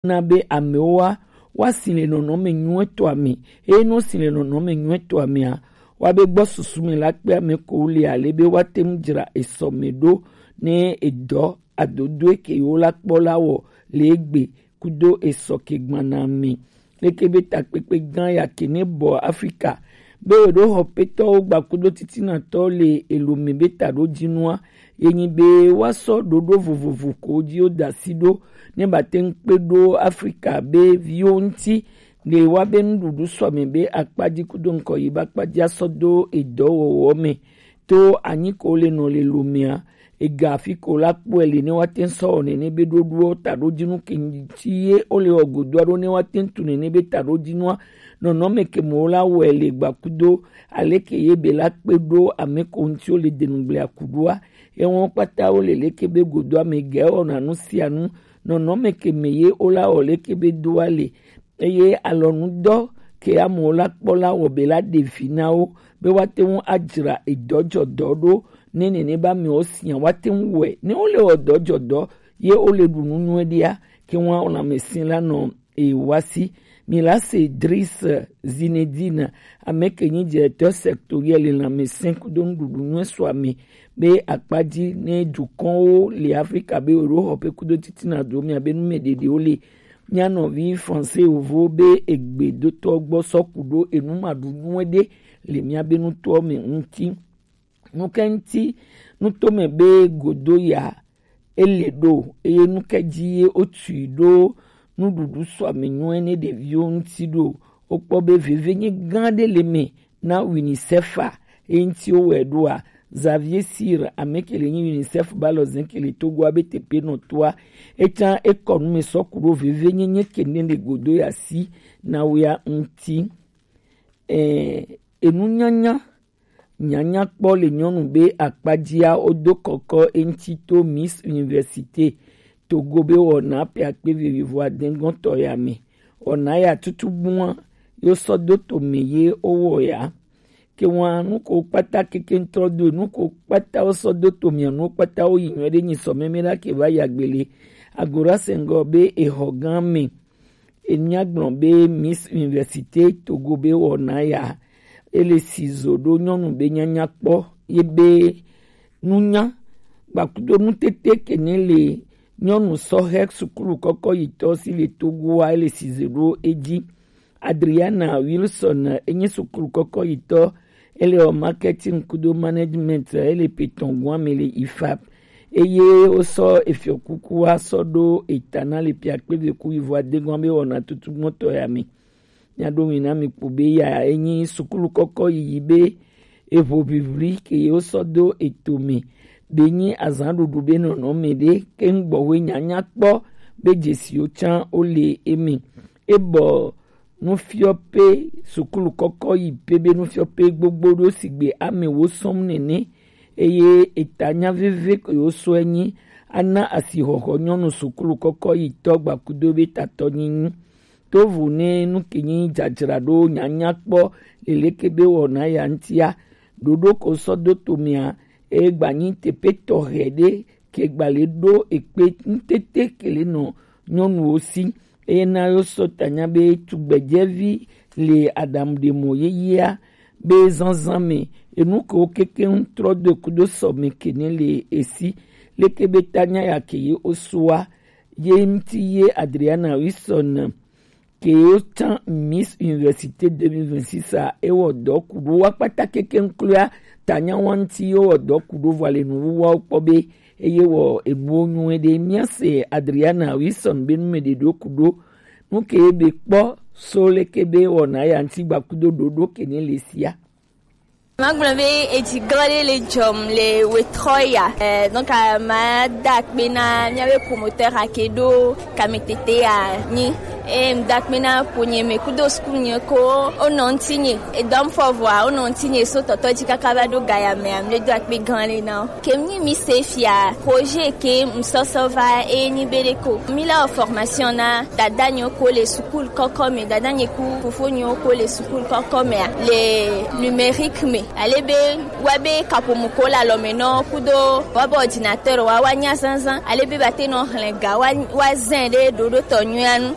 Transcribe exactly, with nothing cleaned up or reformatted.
na be amewo wa wa si le nɔnɔme nyuietɔ ame. Eye ne wo si le nɔnɔme nyuietɔ amea, wa be gbɔ susu me la kpe ame ko le ale be wa te ŋu dzra esɔ me ɖo ne edɔ adodoe ke yewo la kpɔ la wɔ le egbe kudo esɔ ke gbana me. Leke be takpekpe gã ya ke ne bɔ Afrika be wo ɖo xɔpetɔwo gba kudo titinatɔ le elo me be taɖodzinua, ye nyi be woasɔ ɖoɖo vovovo ko dzi wo da asi ɖo ne ba te ŋu kpe ɖo Afrika be viwo ŋuti, ɖe woabe nuɖuɖu sɔ ame be akpa dzi kudo ŋkɔ yi be akpa dzi asɔ do edɔwɔwɔ me. To anyi ko le nɔ le lomea, ega afi ko la kpɔe le ne woate ŋu sɔ wɔ nene be ɖoɖoɔ taɖodzinu ke ŋuti ye wole wɔ godoa ɖo ne woate ŋu tu nene be taɖodzinua nɔnɔme ke me wo la wɔe le gba kudo aleke ye be la kpe ɖo ame ko ŋuti wo le denugblea ku ɖoa. Ewɔn kpata wo le leke be godoa me gɛ wɔna nu sia nu nɔnɔme ke me ye wo la wɔ leke be doa le. Eye alɔnudɔ ke amewo la kpɔ la wɔ be la ɖe vi na wo be woate ŋu adzra edɔdzɔdɔ ɖo ne nene be amewo sia woate ŋu wɔe. Ne wole wɔ dɔdzɔdɔ ye wole ɖu nu nyuie ɖia, ke ŋu lãmesẽ la nɔ ewa si. Mi la se Dris Zinedine, ame ke nyi directeur sectoriel le lãmesẽ kudo nuɖuɖu nyuie sɔ ame be akpa dzi ne dukɔnwo le Afrika be wo ɖo xɔƒe kudo titina do mia be nu me ɖeɖewo le. Mía nɔvi Français yovo be egbe dotɔ gbɔ sɔ ku ɖo enu ma ɖu nyuie ɖe le mía be nutɔ me ŋuti. Nu ke ŋuti nutome be godo ya ele ɖo eye nu ke dzi ye wotui ɖo nuɖuɖu sɔ ame nyuie ne ɖeviwo ŋuti ɖo. Wokpɔ be veve nye gã ɖe le me na UNICEF a, eŋuti wowɔe ɖoa? Xavier Sir, ame ke le nyi UNICEF ba lɔ zɛn ke le Togo a be teƒe nɔtɔa, etsã ekɔ nu me sɔ ku ɖo veve nyenye ke ne le godo ya si na wea ŋuti. Eh, enu nyanya nyanya kpɔ le nyɔnu be akpadzia wodo kɔkɔ eŋuti to Miss Université Togo be wɔna ƒe akpe vivivo adegɔtɔ ya me. Wɔna ya tutugbua yo sɔ do to me ye wowɔ ya. Ke ŋua nu ko kpata keke ŋtrɔ do nu ko kpata wo sɔ do to mia nu kpata wo yi nyuie ɖe nyi sɔ meme la ke va ya gbele. Agora sɛngɔ be exɔ gã me. Enya gblɔ be Miss Université Togo be wɔna ya ele si zo ɖo nyɔnu be nyanya kpɔ ye be nunya gbakudo nutete ke ne le nyɔnu sɔhɛ sukulu kɔkɔ yitɔ si le Togoa ele si zo ɖo edzi. Adriana Wilson enye sukulu kɔkɔ yitɔ, ele wɔ marketing kudo management, ele petɔngua me le ifap. Eye wosɔ efiɔkukua sɔ ɖo eta na le piakpeveku yivo adegɔa be wɔna tutugbɔtɔ ya me. Mia ɖo ŋui na mi kpo be ya enyi sukulu kɔkɔ yiyi be eʋo ʋiʋli ke ye wosɔ do eto me be nyi azan ɖuɖu be nɔnɔme ɖe ke ŋgbɔwe nyanya kpɔ be dzesiwo tsã wole eme. Ebɔ nufiɔƒe sukulu kɔkɔ yi pe be nufiɔƒe gbogbo ɖo sigbe ame wo sɔm nene eye eta nya veve ke wo sɔe nyi ana asixɔxɔ nyɔnu sukulu kɔkɔ yi tɔ gbakudo be tatɔ nyinyi. Tovo ne nu ke nyi dzadzraɖo nyanya kpɔ leleke be wɔna ya ŋutia, ɖoɖo ko sɔ do tomea, eye gbanyi teƒe tɔxɛ ɖe ke gbale ɖo ekpe ŋutete ke le nɔ nyɔnuwo si. Eye na yo sɔ tanya be tugbedzɛvi le aɖaŋuɖemɔ yeyea be zazã me enu kewo kekeŋ trɔ do kudo sɔ me kene le esi. Leke be tanya ya ke ye osoa ye ŋuti ye Adriana Wilson ke wo tsã Miss Université deux mille vingt-six a, ewɔ dɔ ku ɖo wa kpata kekeŋ kloa tanya wa ŋuti ye wɔ dɔ ku ɖo vɔ le nuwuwawo kpɔ be eye wɔ enuwo nyuie ɖe. Míase Adriana Wilson be nu me ɖe ɖo ku ɖo nu ke be kpɔ so leke be wɔna ya ŋuti gbakudo ɖoɖo ke ne le sia. Magblɔ be edzi glɔ ɖe le dzɔm le wetrɔ ya. Eh, donc, eh, mada akpe na míabe promoteur ake ɖo kametete ya nyi. Eye ŋda akpe na ƒonye me kudo suku nye ko wonɔ ŋutinye. Edɔm fɔ vɔa wonɔ ŋutinye so tɔtɔ dzi kaka va ɖo gaya mea, mle do akpe gã le na wo. Ke mi mi se fia projet ke ŋsɔsɔ va eye ni be ɖe ko. Mi la formation na dada nye ko le sukulu kɔkɔ me, dada nye ku fofo nye ko le sukulu kɔkɔ mea, le numérique me. Ale be wa be kaƒomɔ ko le alɔme nɔ kudo wa be ordinateur wa wa nya zazã. Ale be ba te nɔ hlẽ ga wa wa zẽ ɖe ɖoɖo tɔ nyuia nu.